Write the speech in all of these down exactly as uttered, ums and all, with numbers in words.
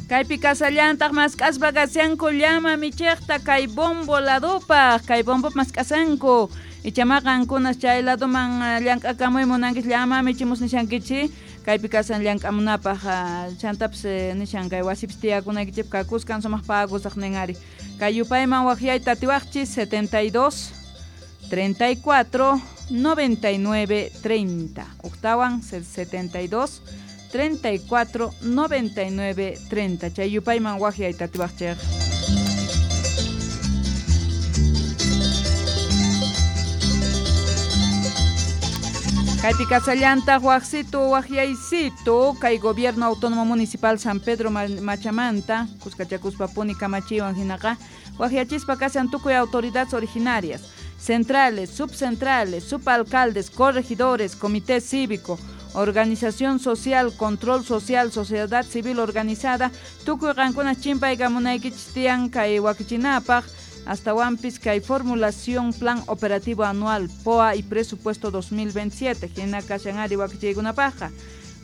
Kaypi kasallantaq mask'aspa kashanku llama michiqta kay bombo ladupaq, kay bombo mask'asanku. Ichama qankunas chay laduman llank'akamuy munankichis llama michimus nishankichis, kaypi kasan llank'amunapaq chantapis nishan kay wasipis tiyakunaykichik kakuskan sumaq pagusaq nin ari. Kay yupayman waqyayta atiwaqchis setenta y dos, treinta y cuatro, noventa y nueve, treinta. Octawan setenta y dos, treinta y cuatro, noventa y nueve, treinta. Chay yupayman waqyayta atiwaqchik. Kaypi kasallantaq waqsitu waqyaysitu kay Gobierno Autónomo Municipal San Pedro Machamanta kuskachakuspa puni kamachiwan hinaqa waqyachispa kasan tukuy autoridades originarias, centrales, subcentrales, subalcaldes, corregidores, comité cívico, organización social, control social, sociedad civil organizada, tukuy qankuna chimpaykamunaykichis tiyan kay wakichinapaq hasta wampis kay formulación plan operativo anual P O A y presupuesto dos mil veintisiete hina kashan ari wakichiykunapaqqa.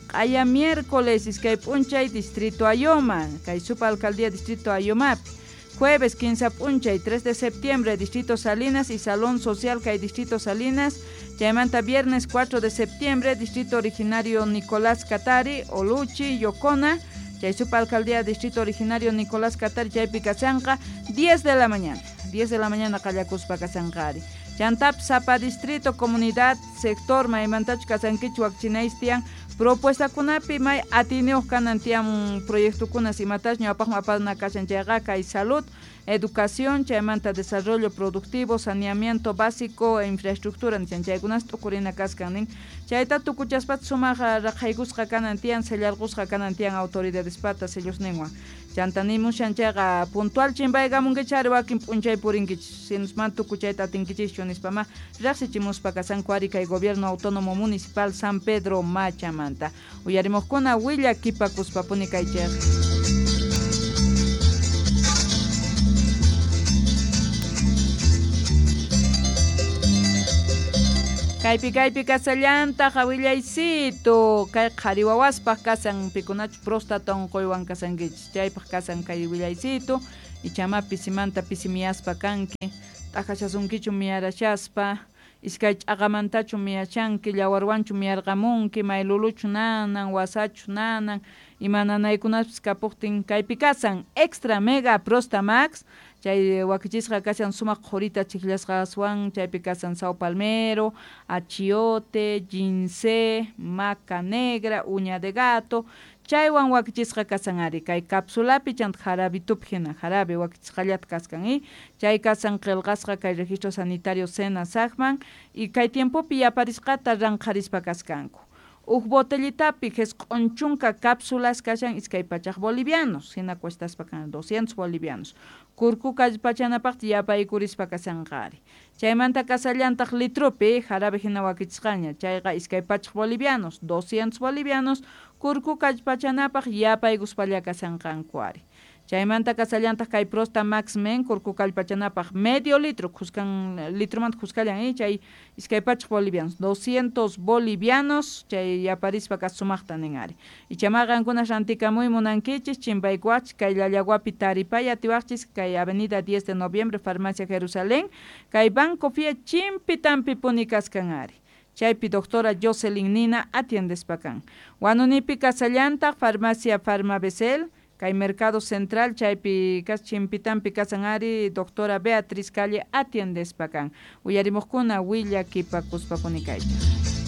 Q'aya miércoles iskay p'unchay distrito Ayoma, kay subalcaldía distrito Ayomapi. Jueves quince p'unchay tres de septiembre distrito Salinas y Salón Social kay distrito Salinas. Chaymanta viernes cuatro de septiembre distrito originario Nicolás Catari, Oluchi, Yocona. Chay subalcaldía distrito originario Nicolás Catari chaypi kashanqa diez de la mañana. diez de la mañana qallakuspa kashanqari. Chantap sapa distrito, comunidad, sector maymantach kasankichik wakchinaystian propuestakunapi may atiniyuq kanan tiyan proyectokunas imatach ñawpaqman apana kashan chayqa kay salud, educación, chaymanta desarrollo productivo, saneamiento básico e infraestructura nishan chaykunas t'ukurina kaskan nin. Chayta tukuchaspat sumaq raqhaykusqa kanan tiyan sellarqusqa kanan tiyan autoridadespata sellusninwan. Chanta nimushan chayqa puntual chimpaykamunkichari wakin p'unchay purinkichis sinusman tukuchayta atinkichischu nispama riqsichimuspa kasanku ari kay Gobierno Autónomo Municipal San Pedro Machamanta. Uyarimuqkuna willakipakuspapuni kaychik. Kaypi kaypi kasallantaq willaysitu kay qhari wawaspaq kasan pikunachu próstata unquywan kasankichis chaypaq kasan kay willaysitu ichama pisimanta pisimiyaspa kanki t'aqashasunkichu miyarashaspa iskay ch'aqamantachu miyashanki llawarwanchu miyarqamunki mayluluchu nanan wasachu nanan ima nanaykunaspis kapuqtin kaypi kasan extra mega prostamax chay wakichisqa kashan sumaq qhurita chiqllasqa aswan chaypi kasan sao palmero, achiote, ginseng, maca negra, uña de gato chaywan wakichisqa kasan ari kay cápsulapi chanta jarabitupi hina jarabe wakichisqallata kaskan y chay kasan qillqasqa kay registro sanitario SENASACman y kay tiempopi yaparisqata ranqharispa kaskanku. Uj botellitapi jisq'un chunka cápsulas kashan iskay pachaq bolivianos, hina cuestaspa kan doscientos bolivianos. Kurku kallpachanapaq yapaykurispa kasanqari. Chaymanta kasallantaq litrupi jarabe hina wakichisqaña, chayqa iskay pachaq bolivianos, doscientos bolivianos, kurku kallpachanapaq yapaykuspalla kasanqanku ari. Chaymanta kasallantaq kay Prosta Max Men kurku kallpachanapaq medio litro, khuskan litromanta khuskallan eh, chay iskay pachaq bolivianos, doscientos bolivianos, chay yaparispa kas sumaqta nin ari. Ichama qankuna rantikamuy munankichis, chimpaykuwachis kay Llallaguapi taripay atiwaqchis kay Avenida diez de Noviembre, Farmacia Jerusalén, kay Banco Fie chimpitampi puni kaskan ari. Chaypi doctora Jocelyn Nina atiendespa kan. Wanunipi kasallantaq Farmacia Farmabesel, kay Mercado Central chaypi kas chimpitampi kasan ari doctora Beatriz Calle atiendespa kan. Uyarimuqkuna willakipakuspapuni kaychik.